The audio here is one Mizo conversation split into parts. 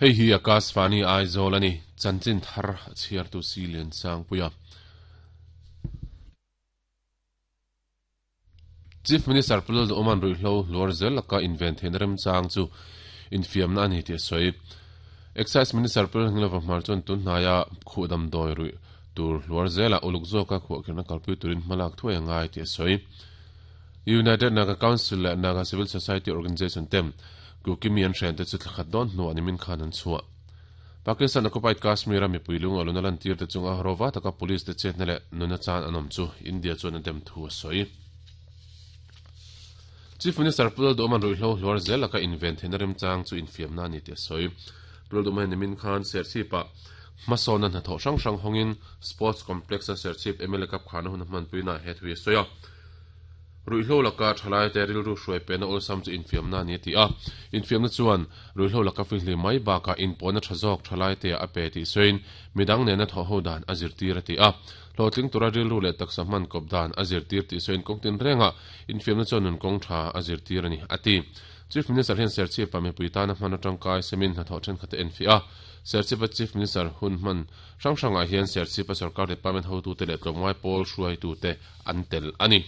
Hei hi Akashvani Aizawl a ni, chanchin thar a chhiartu si Liansangpuia. Chief Minister Pu Lalduhawma'n ruihhlo hluar zel laka inven theihna remchang chu infiamna a ni tih a sawi. Excise Minister Pu Lalhnilova Hmar chuan tun hnaia khuh damdawi ruih tur hluar zelah uluk zawka khuahkhirhna kalpui turin hmalak thuai a ngai tih a sawi. United Naga Council leh Naga Civil Society Organisation ten Kukimi an hrente chu thla khat dawn hnuah nimin khan an chhuah. Pakistan occupied Kashmir a mipui lung a luna lantir te chunga rova taka police te chetna leh nuna chan an awm chu India chuan a dem thu a sawi. Chief Minister Pu Lalduhawma'n ruihhlo hluar zel laka inven theihna remchang chu infiamna a ni tih a sawi. Pu Lalduhawma hian nimin khan Serchhip-ah hmasawnna hnathawh hrang hrang hawngin Sports Complex-a Serchhip mla Cup kharna hun a hmanpuinaah he thu hi a sawi a. Ruihhlo laka thalaite rilru hruai pehna awlsam chu infiamna a ni a ti a. Infiamna chuan ruihhlo laka fihlim mai bakah inpawhna tha zawk thalaiteah a pe tih sawiin midang nena thawhho dan a zirtir a ti a. Hlawhtling tura rilru leh taksa hman kawp dan a zirtir tih sawiin kawng tinrengah infiamna chuan nun kawng tha a zirtir a ni a ti. Chief Minister hian Serchhip-ah mipui tana hman atangkai semin hnathawh thenkhat a enfiah a. Serchhip-a Chief Minister hun hman hrang hrangah hian Serchhip-a sorkar department hotute leh tlawmngai pawl hruaitute an tel a ni.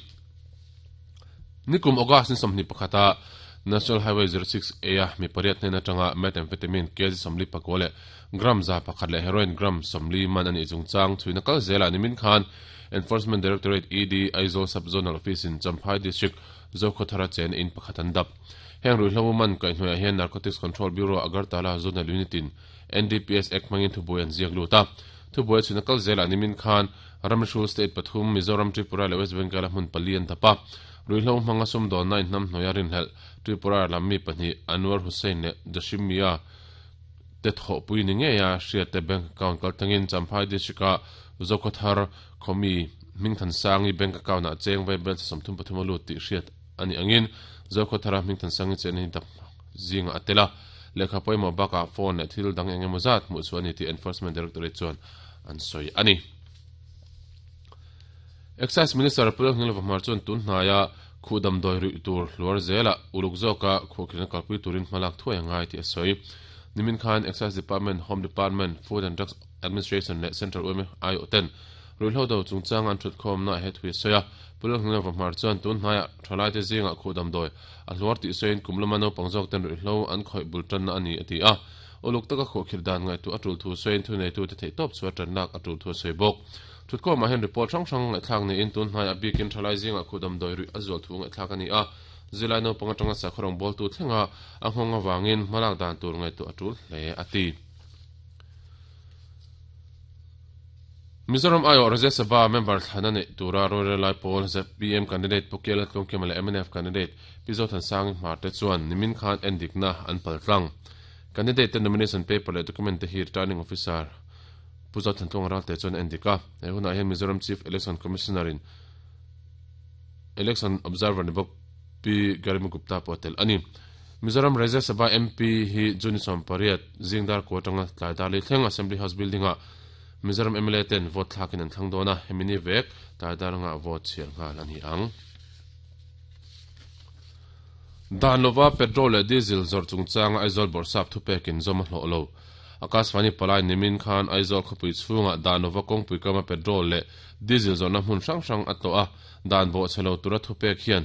Nikum August ni 21 a National Highway 06 A a mi pariat hnen atanga methamphetamine kg 44 leh gram 101 leh heroin gram 40 man a nih chungchang chhuina kal zelah nimin khan Enforcement Directorate, ED, Aizawl Sub-Zonal Office in Champhai District Zokhawthara chen in pakhat an dap. Heng ruihhlo man kaihhnuaiah hian Narcotics Control Bureau Agartala Zonal Unit in NDPS Act hmangin thubuai an ziak lut a. Thubuai chhuina kal zelah nimin khan Ramhrul State pathum, Mizoram, Tripura leh West Bengal-a hmun pali an dap a. Ruihhlo hmanga sumdawnna inhnamhnuaia rinhlelh Tripura lam mi pahnih Anwar Hussain leh Jashim Mia te thawhpui ni ngeia hriatte bank account kaltlangin Champhai District-a Zokhawthar khawmi Hmingthansangi bank account-ah cheng vaibel 33 a lut tih hriat a nih angin Zokhawthara Hmingthansangi chenna hi dap zingah a tel a. Lehkha pawimawh bakah phone leh thil dang eng emaw zat hmuh chhuah a ni tih Enforcement Directorate chuan an sawi a ni. Excise Minister Pu Lalhnilova Hmar chuan tun hnaia khuh damdawi ruih tur hluar zelah uluk zawka khuahkhirhna kalpui turin hmalak thuai a ngai tih a sawi. Nimin khan Excise Department, Home Department, Food and Drugs Administration leh Central yma aiawh ten ruihhlo do chungchanga an thutkhawmna ah he thu a sawi a. Pu Lalhnilova Hmar chuan tun hnaiah thalaite zingah khuh damdawi a hluar tih sawiin kum lama naupang zawk ten ruihhlo an khawih bul tanna a ni a ti a. Uluk taka khuahkhirh dan ngaihtuah a tul thu sawiin thuneitute theihtawp chu a tan lak a tul thu a sawi bawk. Thutkhawmah hian report hrang hrang ngaihthlak niin tun hnaiah bikin thalai zingah khuh damdawi ruih a zual thu ngaihthlak a ni a, zilai naupang atanga sakhaw rawngbawltu thlenga a nghawng avangin hmalak dan tur ngaihtuah a tul hle a ti. Mizoram aiawh Rajya Sabha member thlan a neih tura rorel lai pawl zpm candidate Pu Kela Tlungkima leh mnf candidate Pi Zothansangi Hmarte chuan nimin khan endikna an paltlang. Candidate te nomination paper leh document te hi Returning Officer Pu Zothantlunga Ralte chuan a endik a. He hunah hian Mizoram Chief Election Commissioner in Election Observer ni bawk Pi Garima Gupta pawh a tel a ni. Mizoram Rajya Sabha MP hi June 18 zing dar kua atanga tlai dar li thleng Assembly House Building ah Mizoram mla ten vote thlakin an thlang dawn a, hemi ni vek tlai dar anga vote chhiar nghal a ni ang. Dan lova petrol leh diesel zawrh chungchanga Aizawl Bawrhsap thupekin zawm a hlawh lo. Akashvani palai nimin khan Aizawl khawpui chhungah dan lova kawngpui kama petrol leh diesel zawrhna hmun hrang hrang a tlawh a, dan bawhchhe lo tura thupek hian.